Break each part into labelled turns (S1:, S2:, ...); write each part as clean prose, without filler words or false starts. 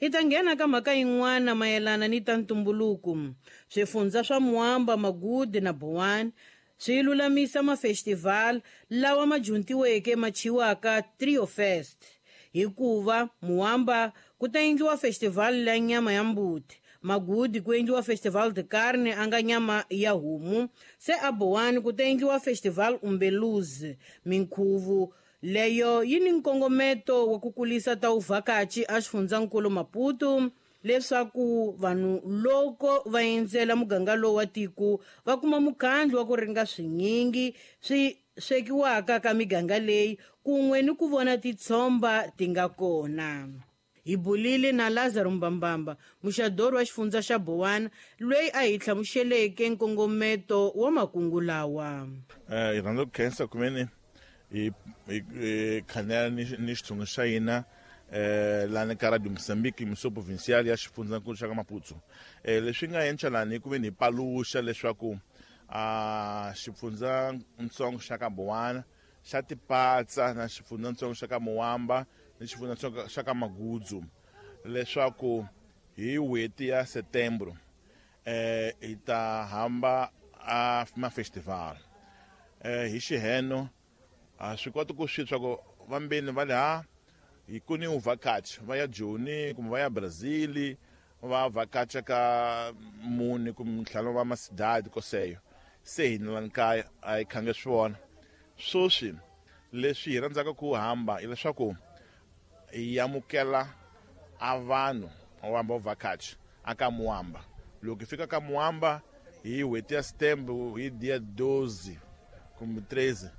S1: Hi ta nghena ka mhaka yin'wana mayelana ni ta ntumbuluko. Swifundza swa Moamba, Magude na Boane swi lulamisa mafestival lawa ma juntiweke ma thyiwaka Trio Fest. Hikuva Moamba ku ta endliwa festival ya nyama ya mbuti, Magude ku endliwa Festival de Carne a nga nyama ya homu, se a Boane ku ta endliwa Festival Umbeluz. Minkhuvo leyo yi ni nkongometo wa ku kulisa ta vuvhakachi a xifundzankulu Maputo, leswaku vanhu loko va endzela muganga lowu wa tiko va kuma mukhandlu wa ku ringa swinyingi swi swekiwaka ka miganga leyi kun'we ni ku vona titshomba ti nga kona. Hi bulile na Lazaro Mbambamba, muxadori wa xifundza xa Bowana, loyi a hi hlamuseleke nkongometo wa makungu lawa.
S2: Hi rhandza ku khensa kumene hi khanela ni xitshungu xa hina lani ka Radio Mozambique, Missão Provincial ya xifundzankulu xa ka Maputo. Leswi nga endla lani ku veni hi paluxa leswaku xifundzatsongo xa ka Bowana xa tipatsa na xifundzatsongo xa ka Moamba ni xifundzatsongo xa ka Magudzu, leswaku hi n'hweti ya Setembro hi ta hamba a mafestival. Hi xiheno a swi koti ku swi swa ku vambeni va le ha hi ku ni uvhakachi va ya Joni kumbe va ya Brazil va vhakacha ka mune kumbe ntlhanu va masidadi koseyo, se hina lani kaya a hi khange swi vona. Sweswi leswi hi rhandzaka ku hamba hileswaku hi amukela a vanhu va hamba vhakachi a ka Moamba. Loko hi fika ka Moamba hi n'hweti ya Setembro hi dia 12 kumbe 13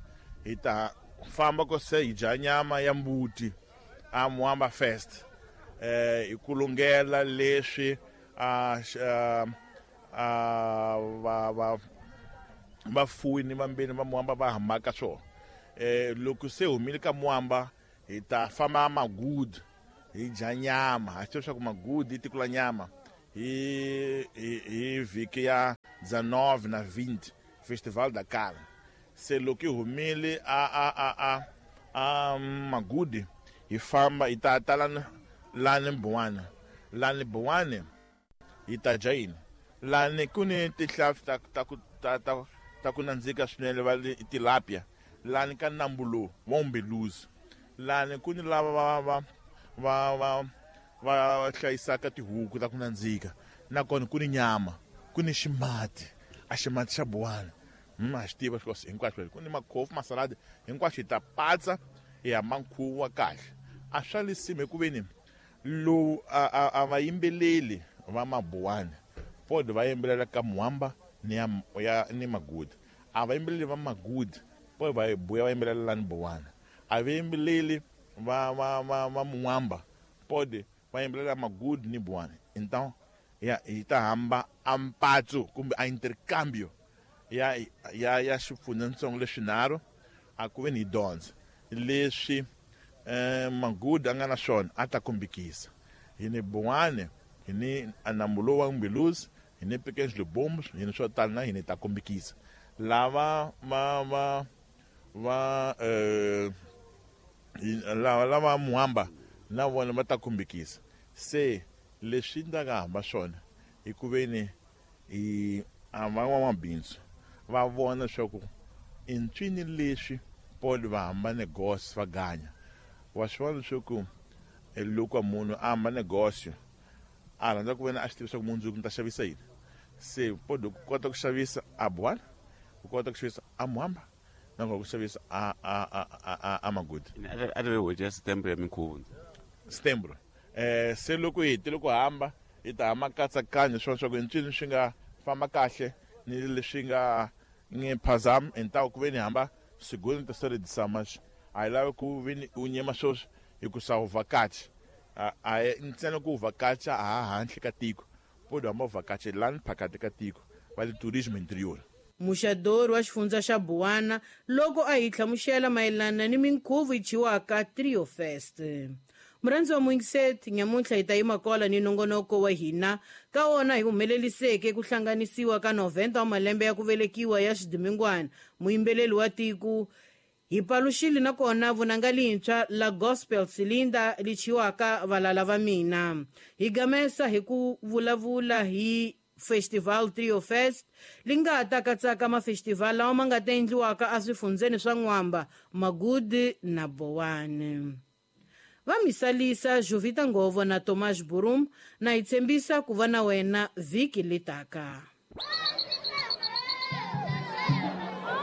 S2: hi ta famba ko se hi dya nyama ya mbuti a Moamba Fest, hi ku lungela leswi a va vafuwi ni vambeni va Moamba va hambaka swona. Loko se humile ka Moamba hi ta famba Magude hi dya nyama. Ha swi tiva leswaku Magude i tiko la nyama. Hi vhiki ya 19 na 20 Festival da Carne. Se loko hi humile a Magude hi famba hi ta ta lani Bowana. Lani Bowane hi ta dya yini? Lani ku ni tihlampfi ta ku nandzika swinene va le tilapia. Lani ka nambu lowu wa Umbeluzi. Lani ku ni lava va hlayisaka tihuku ta ku nandzika. Nakona ku ni nyama, ku ni ximati, a ximati xa Bowana. A xi tiva swilo hinkwaswo. Ku ni makhofu, masaladi, hinkwaswo hi ta patsa hi hamba nkhuvo wa kahle. A swa lisima hikuveni lowu a va yimbeleli va Mabowana pod va yimbelela ka Moamba ni ya ni Magude. A va yimbeleli va Magude pod va buya va yimbelela lani Bowana. A va yimbeleli va Moamba pod va yimbelela Magude ni Bowana. Então ya hi ta hamba a mpatso kumbe a intercambio ya xifundzatsongo leswinharhu a ku ve ni hi dyondza leswi Magude a nga na swona a ta kombekisa. Hi ni Bowane, hi ni nambu lowu wa Umbeluzi, hi ni Pequenos Libombos, hi ni swo tala na hina hi ta kombekisa. Lava va va va lava Moamba na vona va ta kombekisa. Se leswi ndzi nga hamba swona hi ku veni hi a van'wamabindzu va vona leswaku i ncini leswi pole va hamba negosyo va ganya. Wa swi vona leswaku loko munhu a hamba negosyo a rhandza ku vena a swi tiva leswaku mundzuku ni ta xavisa yini. Se pole ku kota ku xavisa a Bowana, ku kota ku xavisa a Moamba, na ku xavisa a Magude.
S3: A ri n'hweti ya Setembro ya minkhuvo.
S2: Setembro. Se loko hi hetile ku hamba hi ta hamba katsakanya swona swa ku ncini swi nga famba kahle ni leswi nga nge phazama hi ku ve ni hamba segundo, terceira edição, mas a hi lavi ku ve ni u nyema sweswi hikusa u vhakachi. A hi ntsena ku u vhakacha ha handle ka tiko, pode hamba u vhakacha lani phakati ka tiko va le tourisme interior.
S1: Muxadori wa xifundza xa Bowana loko a hi hlamusela mayelana ni minkhuvo yi thyiwaka Trio Fest. Murhandzi wa muyingiseti, nyamuntlha hi ta yima kwala ni nongonoko wa hina. Ka wona hi humeleliseke ku hlanganisiwa ka 90 wa malembe ya ku velekiwa ya Xidimingwana, muyimbeleli wa tiko. Hi paluxile nakona vunanga lintshwa la Gospel Silinda li chiwaka Valala Va Mina. Hi gamesa hi ku vulavula hi Festival Trio Fest li nga ta katsaka mafestival lawa ma nga ta endliwaka eswifundzeni swa N'wamba, Magudi na Bowani. Va misalisa Jovita Ngovo na Tomas Burum na hi tshembisa ku va na wena vhiki letaka.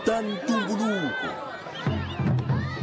S4: Ta.